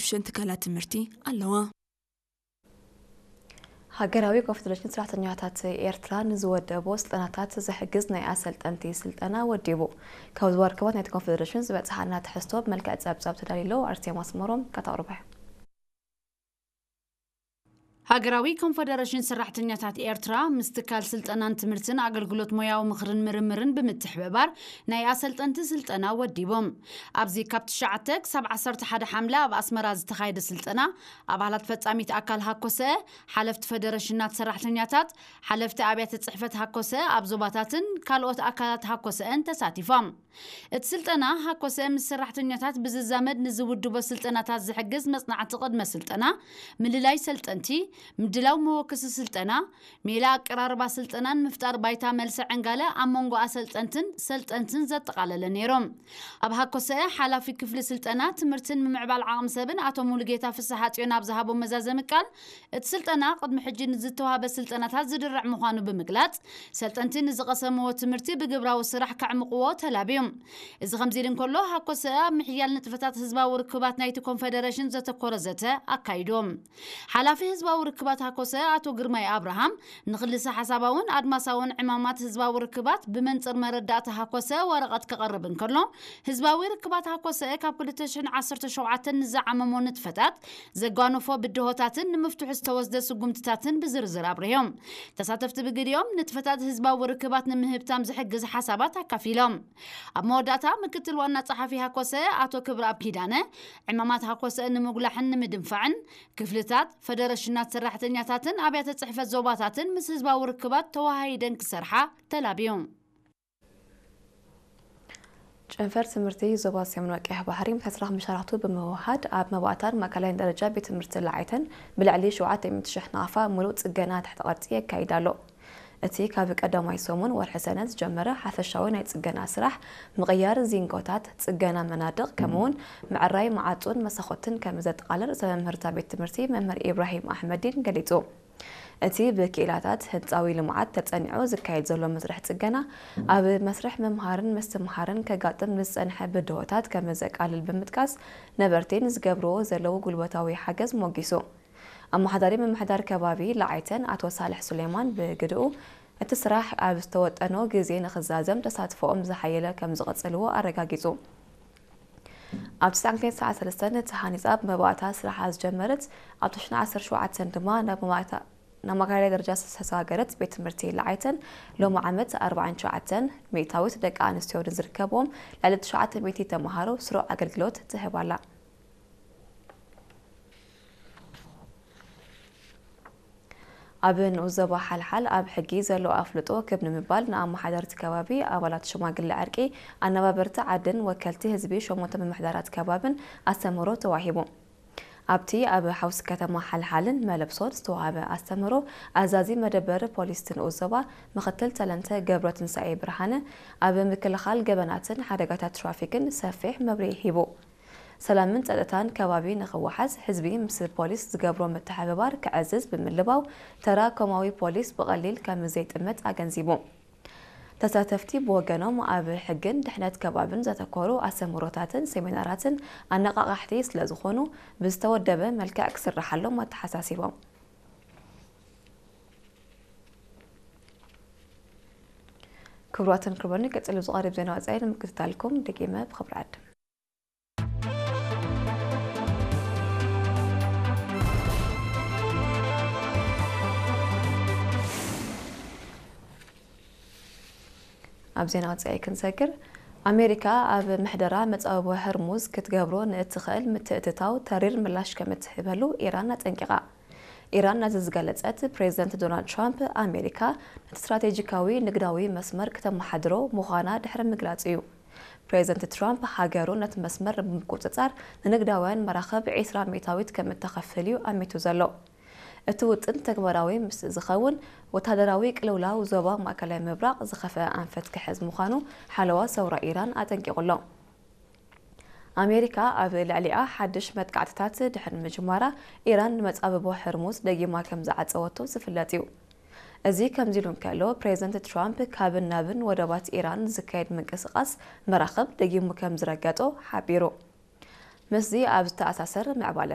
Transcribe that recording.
ሸን ትካላት ትምህርቲ ኣለዋ። ሃገራዊ ኮንፈደሬሽን ሰራሕተኛታት ኤርትራ ንዝወደቦ ስልጠናታት ዝሕግዝ ናይ ኣሰልጠንቲ ስልጠና ወዲቡ። ካብ ዝዋ ርክባት ናይቲ ኮንፈደሬሽን ዝበጽሓና ትሕዝቶ ብመልክዕ ጸብጻብ ተዳልዩ ኣሎ። ኣርሴማ ኣስመሮም ከተቕርቦ እያ። ሃገራዊ ኮንፈደሬሽን ሰራሕተኛታት ኤርትራ ምስ ትካል ስልጠናን ትምህርትን ኣገልግሎት ሞያዊ ምኽርን ምርምርን ብምትሕብባር ናይ ኣሰልጠንቲ ስልጠና ወዲቦም። ኣብዚ ካብ ትሽዓተ ክሳብ ዓሰርተ ሓደ ሓምለ ኣብ ኣስመራ ዝተኻየደ ስልጠና ኣባላት ፈጻሚት ኣካል ሃኮሰ፣ ሓለፍቲ ፈደረሽናት ሰራሕተኛታት፣ ሓለፍቲ ኣብያተ ጽሕፈት ሃኮሰ ኣብ ዞባታትን ካልኦት ኣካላት ሃኮሰን ተሳቲፎም። እቲ ስልጠና ሃኮሰ ምስ ሰራሕተኛታት ብዝዛመድ ንዝውድቦ ስልጠናታት ዝሕግዝ መጽናዕቲ ቅድመ ስልጠና፣ ምልላይ ሰልጠንቲ፣ ምድላው መወከሲ ስልጠና፣ ሜላ ኣቀራርባ ስልጠናን ምፍጣር ባይታ መልሲ ዕንጋለ ኣብ መንጎ ኣሰልጠንትን ሰልጠንትን ዘጠቓለለ ነይሮም። ኣብ ሃኮሰ ሓላፊ ክፍሊ ስልጠና ትምህርትን ምምዕባል ዓቕሚ ሰብን ኣቶ ሙሉጌታ ፍስሓ ጽዮን ኣብ ዝሃቦ መዛዘሚ ቃል፣ እቲ ስልጠና ቅድሚ ሕጂ ንዝተዋህበ ስልጠናታት ዝድርዕ ምዃኑ ብምግላጽ፣ ሰልጠንቲ ንዝቐሰምዎ ትምህርቲ ብግብራዊ ስራሕ ከዕምቕዎ ተላብዮም። እዚ ከምዚ ኢሉ እንከሎ፣ ሃኮሰ ኣብ ምሕያል ንጥፈታት ህዝባዊ ርክባት ናይቲ ኮንፈደሬሽን ዘተኮረ ዘተ ኣካይዶም። ሓላፊ ህዝባዊ ርክባት ሃኮሰ ኣቶ ግርማይ ኣብርሃም ንክልሰ ሓሳባውን ኣድማሳውን ዕማማት ህዝባዊ ርክባት ብመንጽር መረዳእታ ሃኮሰ ወረቐት ከቐርብ እንከሎ፣ ህዝባዊ ርክባት ሃኮሰ ካብ ክልተ ሽሕን ዓሰርተ ሸውዓተን ንዝዓመሞ ንጥፈታት፣ ዘጓነፎ ብድሆታትን ንምፍትሑ ዝተወስደ ስጉምትታትን ብዝርዝር ኣብሪሆም። ተሳተፍቲ ብግዲኦም ንጥፈታት ህዝባዊ ርክባት ንምህብታም ዝሕግዝ ሓሳባት ኣካፊሎም። ኣብ መወዳእታ ምክትል ዋና ጸሓፊ ሃኮሰ ኣቶ ክብረኣብ ኪዳነ፣ ዕማማት ሃኮሰ ንምጉላሕን ንምድንፋዕን ክፍልታት፣ ፈደረሽናት ሰራሕተኛታትን ኣብያተ ጽሕፈት ዞባታትን ምስ ህዝባዊ ርክባት ተወሃሂደን ክሰርሓ ተላብዮም። ጨንፈር ትምህርቲ ዞባ ሰሜን ቀይሕ ባሕሪ ምስ ኣስራኽ መሻርኽቱ ብምውሃድ ኣብ መባእታን ማእከላይን ደረጃ ቤት ትምህርቲ ለዓይተን ብልዕሊ ሸውዓተ ሚእቲ ሽሕ ናቕፋ ምሉእ ጽገና ትሕተ ቅርጺ የካይድ ኣሎ። እቲ ካብ ቀዳማይ ሰሙን ወርሒ ሰነ ዝጀመረ ሓፈሻዊ ናይ ጽገና ስራሕ ምቕያር ዚንጎታት፣ ጽገና መናድቕ ከምኡውን ምዕራይ መዓጹን መሳኹትን ከም ዘጠቓልል ርእሰ መምህርታ ቤት ትምህርቲ መምህር ኢብራሂም ኣሕመዲን ገሊጹ። እቲ ብክኢላታት ህንጻዊ ልምዓት ተጸኒዑ ዝካየድ ዘሎ መስርሕ ጽገና፣ ኣብ መስርሕ ምምሃርን ምስትምሃርን ከጋጥም ንዝጸንሐ ብድሆታት ከም ዘቃልል ብምጥቃስ፣ ነበርቲ ንዝገብርዎ ዘለዉ ጉልበታዊ ሓገዝ ሞጊሱ። ኣመሓዳሪ ምምሕዳር ከባቢ ለዓይተን ኣቶ ሳልሕ ሱሌማን ብግድኡ፣ እቲ ስራሕ ኣብ ዝተወጠኖ ግዜ ንኽዛዘም ተሳትፎኦም ዝሓየለ ከም ዝቕጽልዎ ኣረጋጊጹ። ኣብ ትሽዓተ ሚእቲ ዓሰርተ ሰለስተ ተሃኒጻ ብመባእታ ስራሓ ዝጀመረት፣ ኣብ ትሽዓተ ዓሰርተ ሸውዓተ ድማ ናብ መባእታ፣ ናብ ማእከላይ ደረጃ ዝተሰጋገረት ቤት ትምህርቲ ለዓይተን፣ ሎሚ ዓመት ኣርባዓን ትሽዓተን ሚእታዊት ደቂ ኣንስትዮ ንዝርከብዎም ልዕሊ ትሽዓተ ሚእቲ ተምሃሮ ስሩዕ ኣገልግሎት ትህብ ኣላ። ኣብ ንኡስ ዞባ ሓልሓል ኣብ ሕጊ ዘሎ ኣፍልጦ ክብ ንምባል ንኣመሓደርቲ ከባቢ፣ ኣባላት ሽማግለ ዕርቂ፣ ኣነባበርቲ ዓድን ወከልቲ ህዝቢ ሸሞንተ ምምሕዳራት ከባብን ኣስተምህሮ ተዋሂቡ። ኣብቲ ኣብ ሓውሲ ከተማ ሓልሓልን መለብሶን ዝተዋህበ ኣስተምህሮ፣ ኣዛዚ መደበር ፖሊስ እቲ ንኡስ ዞባ ምክትል ተለንተ ገብረትንሳኤ ብርሃነ፣ ኣብ ምክልኻል ገበናትን ሓደጋታት ትራፊክን ሰፊሕ መብርሂ ሂቡ። ሰላምን ጸጥታን ከባቢ ንኽወሓስ ህዝቢ ምስ ፖሊስ ዝገብሮ ምትሕብባር ክዕዝዝ ብምልባው፣ ተራ ኮማዊ ፖሊስ ብቐሊል ከም ዘይጥመት ኣገንዚቡ። ተሳተፍቲ ብወገኖም፣ ኣብ ሕግን ድሕነት ከባብን ዘተኮሩ ኣስተምህሮታትን ሴሚናራትን ኣነቓቓሕቲ ስለ ዝኾኑ፣ ብዝተወደበ መልክዕ ክስርሓሎም ኣተሓሳሲቦም። ክቡራትን ክቡራን፣ ቀጺሉ ዝቐርብ ዜና ወጻኢ ንምክትታልኩም ደጊመ ብኽብሪ ዕድም። ኣብ ዜና ወጻኢ ክንሰግር፣ ኣሜሪካ ኣብ ምሕደራ መጻብቦ ህርሙዝ ክትገብሮ ንእትኽእል ምትእትታው ተሪር ምላሽ ከም እትህበሉ ኢራን ኣጠንቂቓ። ኢራን ነዚ ዝገለጸት፣ ፕሬዚደንት ዶናልድ ትራምፕ ኣሜሪካ ነቲ ስትራቴጂካዊ ንግዳዊ መስመር ከተመሓድሮ ምዃና ድሕሪ ምግላጹ እዩ። ፕሬዚደንት ትራምፕ ሃገሩ ነቲ መስመር ብምቁጽጻር ንንግዳውያን መራኽብ ዒስራ ሚእታዊት ከም እተኸፍል እዩ ኣሚቱ ዘሎ። እቲ ውጥን ተግባራዊ ምስ ዝኸውን፣ ወታደራዊ ቅልውላው ዞባ ማእከላይ ምብራቕ ዝኸፍአ ኣንፈት ክሕዝ ምዃኑ ሓለዋ ሰውራ ኢራን ኣጠንቂቑ ኣሎ። ኣሜሪካ ኣብ ልዕሊኣ ሓድሽ መጥቃዕትታት ድሕሪ ምጅማራ፣ ኢራን ንመጻብቦ ሕርሙዝ ደጊማ ከም ዝዓጸወቶ ዝፍለጥ እዩ። እዚ ከምዚ ኢሉ እንከሎ፣ ፕሬዚደንት ትራምፕ ካብን ናብን ወደባት ኢራን ዝካየድ ምንቅስቓስ መራኽብ ደጊሙ ከም ዝረገጦ ሓቢሩ። ምስዚ ኣብ ዝተኣሳሰር ምዕባለ